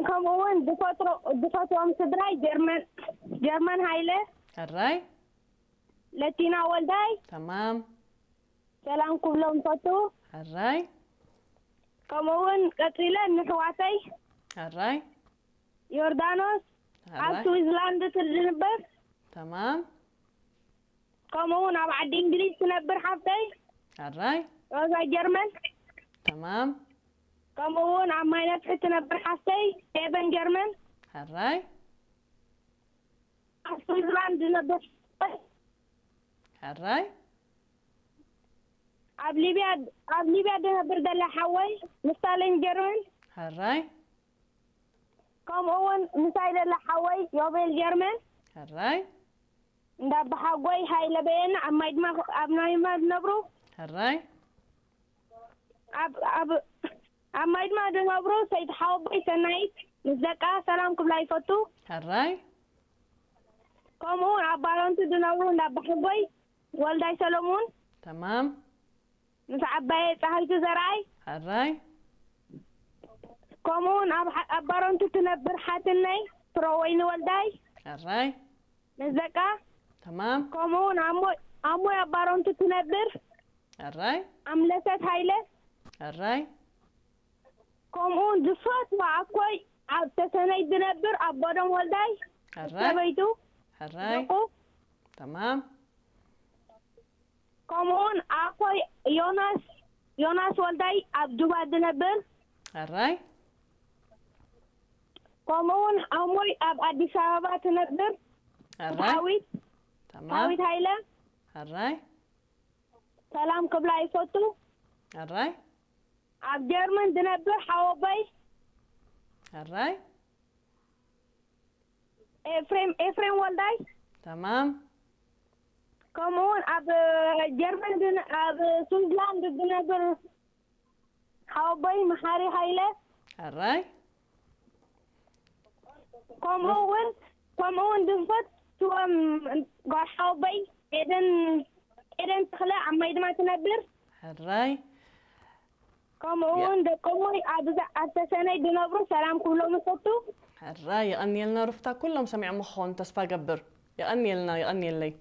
ከምኡ እውን ዝፈትዎም ስድራይ ጀርመን ጀርመን ሃይለ፣ ሕራይ ለቲና ወልዳይ ተማም ሰላም ክብሎም ፈቱ። ሕራይ ከምኡ እውን ቀፂለ ንሕዋተይ ሕራይ ዮርዳኖስ ኣብ ሕራይ ስዊዝላንድ ትድንበር፣ ተማም ከምኡ እውን ኣብ ዓዲ እንግሊዝ ትነብር ሓፍተይ ሕራይ ሮዛ ጀርመን፣ ተማም ከምኡ እውን ኣብ ማይ ነፍሒ ትነብር ሓፍተይ ሄቨን ጀርመን፣ ሕራይ ኣብ ስዊዝላንድ ዝነብር ሕራይ ኣብ ሊብያ ኣብ ሊብያ ዝነብር ዘላ ሓወይ ንስታለኝ ጀርመን፣ ሕራይ ከምኡ እውን ምሳይ ዘላ ሓወይ ዮቤል ጀርመን፣ ሕራይ እንዳ ኣባሓጎይ ሃይለ በየነ ኣብ ማይ ድማ ኣብ ናይ ድማ ዝነብሩ ሕራይ ኣብ ኣብ ኣብ ማይ ድማ ዝነብሩ ሰይቲ ሓወቦይ ሰናይት ምስ ደቃ ሰላም ክብላ ይፈቱ። ሕራይ ከምኡ እውን ኣብ ባረንቱ ዝነብሩ እንዳ ኣባሓጎይ ወልዳይ ሰለሙን ተማም ምስ ዓባየ ፀሃይቱ ዘርኣይ ሕራይ ከምኡ እውን ኣብ ሓ- ኣብ ባረንቱ ትነብር ሓትነይ ፍረወይኒ ወልዳይ ሕራይ ምስ ደቃ ተማም ከምኡ እውን ኣሞይ ኣሞይ ኣብ ባረንቱ ትነብር ሕራይ ኣምለሰት ሃይለ ሕራይ ከምኡ እውን ዝፈትዋ ኣኮይ ኣብ ተሰነይ ዝነብር ኣቦዶም ወልዳይ ሕራይ ሰበይቱ ሕራይ ደቁ ተማም ከምኡ እውን ኣኮይ ዮናስ ዮናስ ወልዳይ ኣብ ጁባ ዝነብር ሕራይ ከምኡ እውን ኣሞይ ኣብ ኣዲስ ኣበባ ትነብር ሕራይ ዳዊት ተማም ዳዊት ሃይለ ሕራይ ሰላም ክብላ ይፈቱ። ሕራይ ኣብ ጀርመን ዝነብር ሓወቦይ ሕራይ ኤፍሬም ኤፍሬም ወልዳይ ተማም ከምኡ እውን ኣብ ጀርመን ዝነ- ኣብ ስዊዝላንድ ዝነብር ሓወቦይ መሓሪ ሃይለ ሕራይ ከምኡ እውን ከምኡ እውን ዝፈትዎም ጓል ሓወቦይ ኤደን ኤደን ተኽለ ኣብ ማይ ድማ ትነብር ሕራይ ከምኡ እውን ደቆሞይ ኣብዛ ኣብ ተሰነይ ዝነብሩ ሰላም ክብሎም እፈቱ። ሕራይ የቐንየልና ሩፍታ ኩሎም ሰሚዖም ክኾኑ ተስፋ ገብር የቐንየልና የቐንየለይ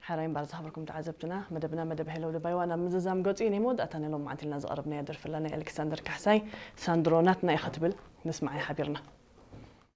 ሕራይ እምበር ዝኸበርኩም ተዓዘብትና መደብና መደብ ሄለው ደባይዋ ናብ ምዝዛም ገፁ እዩ ናይ መወዳእታ ናይ ሎም መዓልቲ ኢልና ዝቐረብናዮ ደርፊ ኣላ ናይ ኣሌክሳንደር ካሕሳይ ሳንድሮ ናትና ኢኻ ትብል ንስማዓይ ሓቢርና